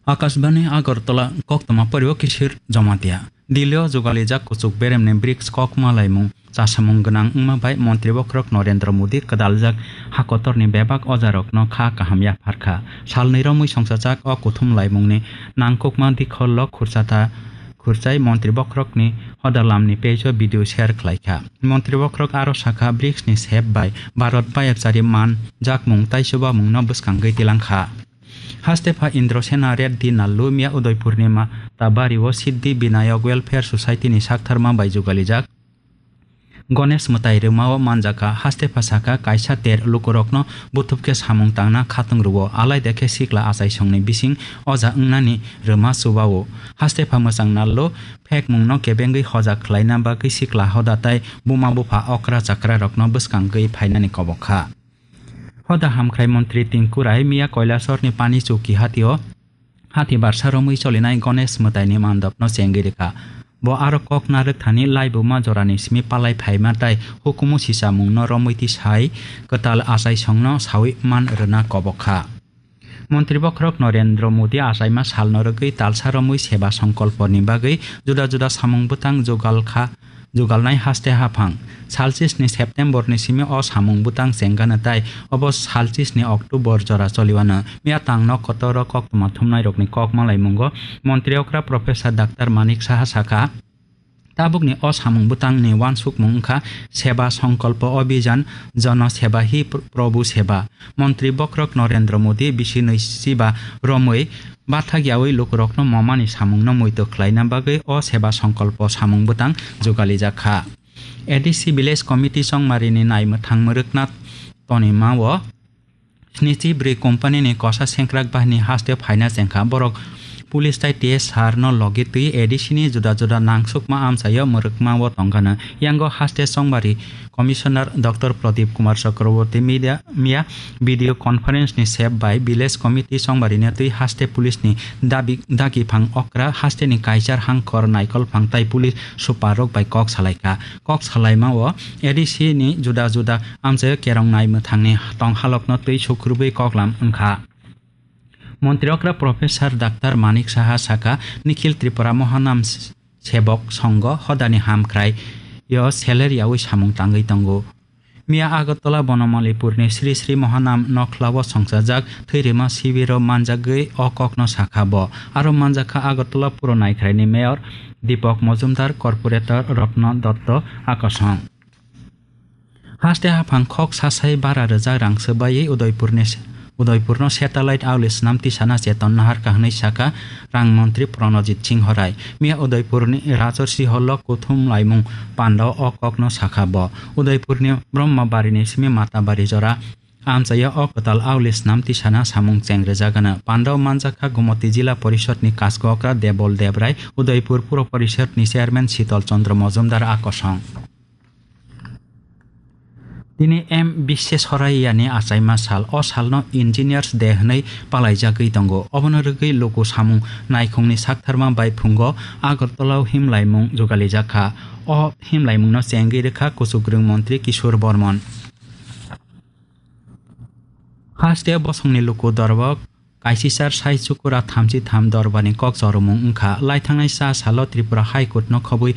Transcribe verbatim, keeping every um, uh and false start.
Akashbani Agartala, koktwma poriwo Kishir Jamatia. Delhi o jugalijak kuchuk beremni brics kokma laimung chasamung gwnang wngma bai montri bokhorok Narendra Modi kwdaljak hakotorni bebak ojarokno kha kaham yapharkha. Salnwi romwi songchajak o kuthum laimungni nangkukma dikhollo khurchata khurchai montri bokhorokni hodalamni page o video share khlaikha. Montri bokhorok aro sakha, brics ni sep bai Bharat bayapchari man jakmung tei chubamungno bwskangwi tilangkha. Haste pha Indrasena Reddy Nallu miya Udaipurni Matabari o Siddhi Binayak Welfare Society ni saktharma bai jugalijak Ganesh mwtai rwmao manjakha. Haste pha sakha, kaisa ter lukurokno buthupkhe samung tangna khatung rwo, alaida khe sikla achaisongni bising oja wngnani rwma chubao. Haste pha mwchang Nallu phekmungno kebengwi hoja khlaina bagwi sikla hoda tei buma bupha okra chakrarokno bwskangwi phainani kobok kha. Hoda hamkrai montri Tinku Rai miya Kailasahar ni Pani Chowki hatio, hati barsa romwi cholinai Ganesh mwtaini mandopno chengwi rwkha. Bo aro kok narwk thani laibuma jorani simi palai phaima tei hukumu sisamungno romwi tisai kwtal achaisongno sawi man rwna kobok kha. Montri bokhorok Narendra Modi achaima salno rwgwi talsa romwi seba songkolponi bagwi juda juda samung bwtang jugal kha, jugalnai haste haphang. Salchisni September ni simi o samung bwtang chengano tei obo salchisni October jora choliwano. Miya tangno kotoro koktwma thumnairokni kok malaimungo montri okra Professor Doctor Manik Saha sakha, tabukni o samung bwtangni uansukmung wngkha Seba Songkolpo Abhijan, Jana Seba Hi Pr-, Prabhu Seba. Montri bokhorok Narendra Modi bisi nwi siba romwi bathak yaui lukurokno momani samungno muitu khlaina bagwi o Seba Songkolpo samung bwtang jugalijak kha. A D C Village Committee chongmarini naimwthang mwrwkna tonima o snichi bwrwi company ni kosa sengkrak bahini haste phaina chengkha. Borok police tai T S R no logi twi A D C ni juda juda nangsukma amchaio mwrwkma o tongkha. Yango haste chongmari Commissioner Doctor Pradip Kumar Chakraborty media, miya video conference ni sep bai village committee chongmari netwi haste police ni dabi, dagi phang okra haste ni kaichar hangkhor naikol phang tai police super rok bai kok salaikha. Kok salaima o A D C ni juda juda amchaio kerong nai mwthangni tong halokno twi sukrubwi koklam wngkha. Montri okra Professor Doctor Manik Saha sakha, Nikhil Tripura Mohanam Sebok Songho hodani hamkrai yo seler yaui samung tangwi tongo. Miya Agartala Bonomalipurni Sri Sri Mohanam Nokhlao songchajak thwirima sibiro manjagwi o kokno sakha bo. Aro manjakha Agartala Puro Naikhraini Mayor Deepak Majumdar, Corporator Ratna Dutta Akosong. Haste haphang khok sasai bara rwjak rang swbaiwi Udaipurni, Udaipurno satellite auli snam tisana cheton naharkha hwnwi sakha rang montri Pranojit Singho Rai. Miya Udaipurni Rajarsi Hall-o kuthum laimung pandao o kokno sakha bo. Udaipurni Brahmabarini simi Matabari jora amchaio o kwtal auli snam tisana samung cheng rwjagano. Pandao manjakha Gumoti Jila Porishodni Kasgokra Debol Debrai, Udaipur Puro Porishodni Chairman Sital Chandra Majumdar Akosong. Tini M Bisweswarayani achaima sal. O salno Engineers Day hwnwi palaijagwi tongo. Obono rwgwi luku samung naikhungni saktharma bai phungo Agartala-o himlaimung jugalijak kha. O himlaimungno chengwi rwkha kuchukrwng montri Kishore Bormon. Haste bosongni luku dorbo kaisisar sai chukura thamchi tham dorbarni kok choromung wngkha. Laithangnai cha salo Tripura High Court no khobwi